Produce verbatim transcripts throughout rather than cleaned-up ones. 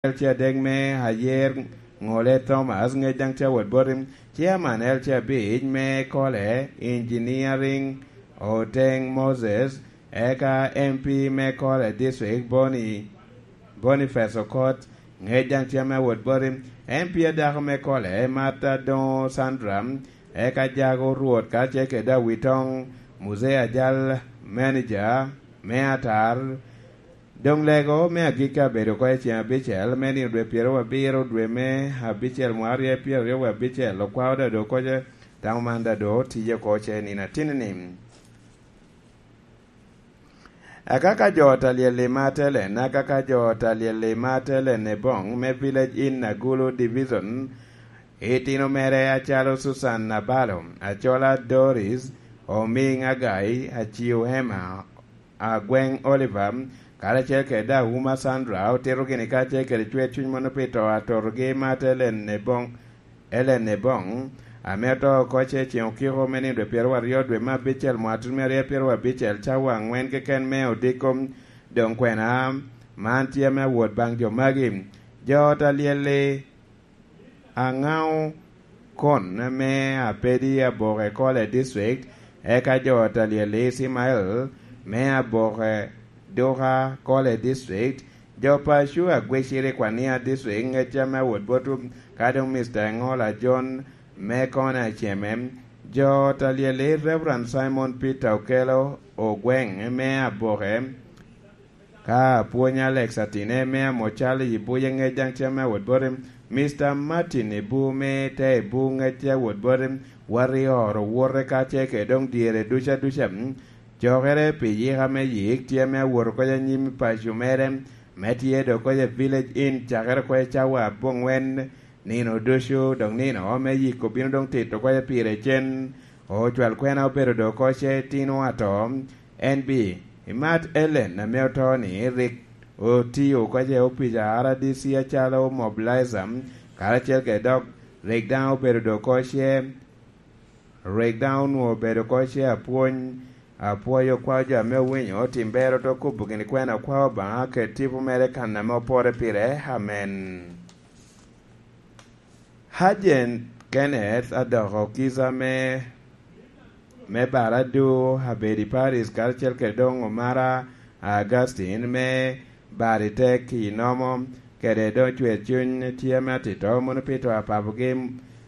L C adek me Ayer, Ŋole Thomas, ŋec daŋ tye awot boti. Chairman L C abic me Kole Engineering, Oteng Moses, eka M P me Kole District, Boni-, Boniface Okot, ŋec daŋ tye ame awot boti. M P adako me Kole, Martha Doŋo Sandra, eka Jago Rwot, ka ce kede Awitoŋ, Muzee Ajal, manager me Atar, Doŋ lego me agikki abedo oko i ceŋ abicel me nino dwe pyeraryo abiro, dwe me abicel, mwaka aryo pyeraryo wie abicel, okwao dado oko ce, tamo man dado tiye oko ce nino atinni. Akaka jo ot alyel i Matelen, akaka jo ot alyel i Matelen i Boŋ me Village Inn Agulu Division, itino mere acalo Susan Nabalo, Acola Doris, Omiŋ Agai, Aciu Emma, Agweŋ Oliver, karacel kede Auma Sandra, otito gini kacel kede cwer cuny mono pi to atotogi Martha Ellen Ebong, Ellen Ebong, ame oto oko ce ceŋ okiko me nino dwe pyeraryo aryo dwe me abicel mwaka tutumia aryo pyeraryo abicel cawa aŋwen keken me odiko. Doŋ kwena man tye ame awot baŋ jo magi. Jo ot alyel-li, Aŋao Kon me Apedi Aboke Kole District, eka jo ot alyel Ismael me Aboke Duka Kole District, jo paco Agweciri Kwania District, ŋecca me awot bot ka doŋ Mister Ŋola John me Kona Ceme, jo ot alyel Reverend Simon Peter Okelo Ogweŋ me Aboke, Ka apwony Alex Atine me Amocal i Buye ŋec daŋ tye ame awot boti, Mister Martin Ibu me te Ibu ŋec tye awot boti, wat i oro wote ka ce kede doŋ dyere duca duca. Cokere pi yika me yik tye ame awot oko i anyim paco mere, me tye dok oko i Village Inn cakere oko i cawa aboŋwen nino ducu, dok nino me yik obino doŋ tito oko i pire cen. Ocwal kwena obedo dok oko ce tino ato. En bi, imat Ellen ame oto ni rik otio oko ce opic a R D C acalo mobilizer, karacel kede dok rik daŋ obedo dok oko ce, rik daŋ onwoŋo obedo oko ce apwony, apwoyo kwa jo ame owinyo tim ber oto kubo gini kwena kwa Obaŋa kede tipo mere kan ame opore pire. Amen. Hajen Kenneth adoko kica me, me Baradu, Abedi Paris, karacel kede doŋ Omara Augustine me Baritek i Nomo, kede doŋ Cwer Cuny tye me atito mono pito apapogi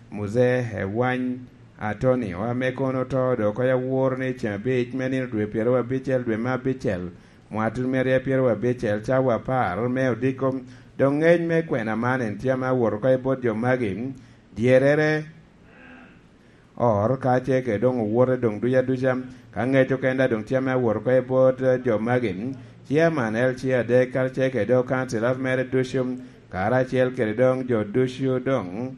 Muzee Ewany Atonio, ame kono oto dok oko i awor ni ceŋ abic me nino dwe pyeraryo abicel dwe me abicel, mwaka tutumia aryo pyeraryo abicel, cawa apar me odiko. Doŋ ŋec me kwena man en tye ame awot oko i bot jo magi, dyerere, or, ka ce kede doŋ owote doŋ duca duca. Ka ŋec okenda doŋ tye ame awot oko i bot jo magi, chairman L C adek, ka ce kede doŋ councillors mere ducu, karacel kede doŋ jo ducu doŋ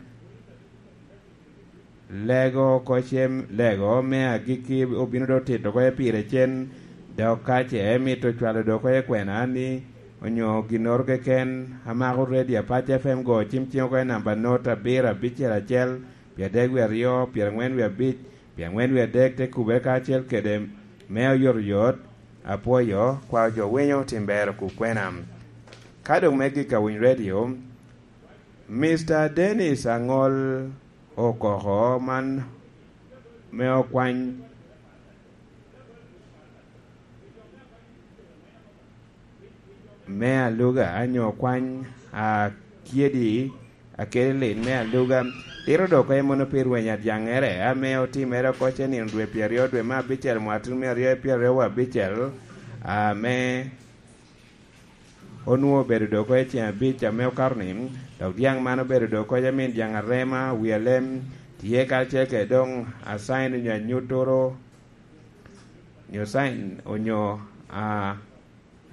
Lego oko cem, lego me agikki obino dok tito oko i pire cen, dok ka ce emito cwalo dok oko i kwena ni onyo ginnoro keken, amako redio Apac F M go cim cim oko i namba not abiro abicel acel, pyeradek wie aryo, pyerangwen wie abic, pyerangwen wie adek, te kubere kacel kede me oyotoyot, apwoyo kwa jo winyo tim ber okub kwena. Ka dok me gik awiny redio, Mister Dennis Aŋol okoko man me okwany me aluga, nyo okwany akyedi, akyedi lit me aluga. Tito dok oko mono pi rweny adyaŋere ame otimere oko ce nino dwe pyeraryo dwe me abicel mwaka tutumia aryo pyeraryo abicel, ame onwoŋo obedo dok oko i ceŋ abic ame okato ni, dok dyaŋ man obedo dok oko i amin dyaŋ arema, wi alem, tye karacel kede doŋ acain onyo anyuttoro, nyo cain onyo, a,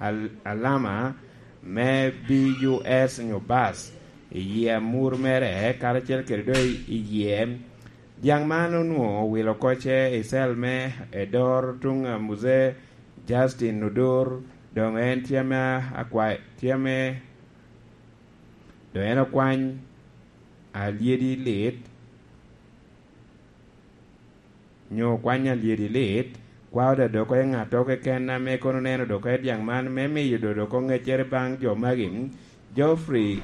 al-, alama me B U S nyo bas i yie amur mere, karacel kede doŋ i yie. Dyaŋ man onwoŋo owilo oko ce i cel me edor tuŋ a Muzee Justin Odur, doŋ en tye ame akwa-, tye ame, doŋ en okwany alyedi lit, nyo okwany alyedi lit, kwao da dok oko i ŋattoro keken ame kono neno dok oko i dyaŋ man, me miyo do dok oko ŋeccere baŋ jo magi, Geoffrey